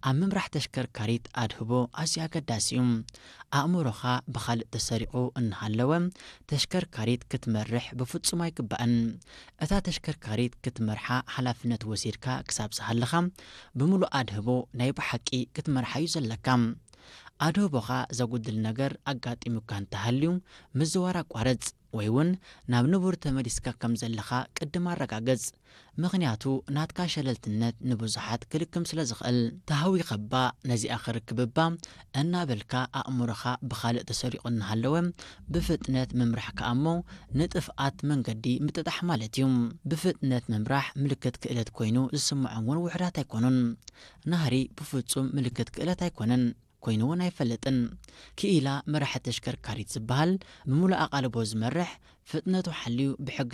ኣብ ምምራሕ ተሽከርካሪት ኣድህቦ ኣዝዩ ኣገዳሲ እዩ። ኣእምሮኻ ብኻልእ ተሰሪቑ እናሃለወ ተሽከርካሪት ክትመርሕ ብፍጹም ኣይግባእን። እታ ተሽከርካሪት ክትመርሓ ሓላፍነት ወሲድካ ክሳብ ዝሃለኻ ብምሉእ ኣድህቦ ናይ ብሓቂ ክትመርሓ እዩ ዘለካ። ኣድህቦኻ ዘጉድል ነገር ኣጋጢሙካ እንተሃልዩ ምዝዋር ኣቋርጽ ወይ እውን ናብ ንቡር ተመሊስካ ከም ዘለኻ ቅድም ኣረጋግጽ። ምኽንያቱ ናትካ ሸለልትነት ንብዙሓት ክልክም ስለ ዝኽእል። ተሃዊኸ እባ ነዚኣ ክርክብ እባ እናበልካ ኣእምሮኻ ብኻልእ ተሰሪቑ እናሃለወ ብፍጥነት ምምራሕ ከኣ እሞ ንጥፍኣት መንገዲ ምጥጣሕ ማለት እዩ። ብፍጥነት ምምራሕ ምልክት ክእለት ኮይኑ ዝስምዖም እውን ውሑዳት ኣይኮኑን። ናህሪ ብፍጹም ምልክት ክእለት ኣይኮነን። ኮይኑ እውን ኣይፈልጥን። ክኢላ መራሒ ተሽከርካሪት ዝበሃል ብምሉእ ኣቓልቦ ዝመርሕ፣ ፍጥነቱ ሓልዩ ብሕጊ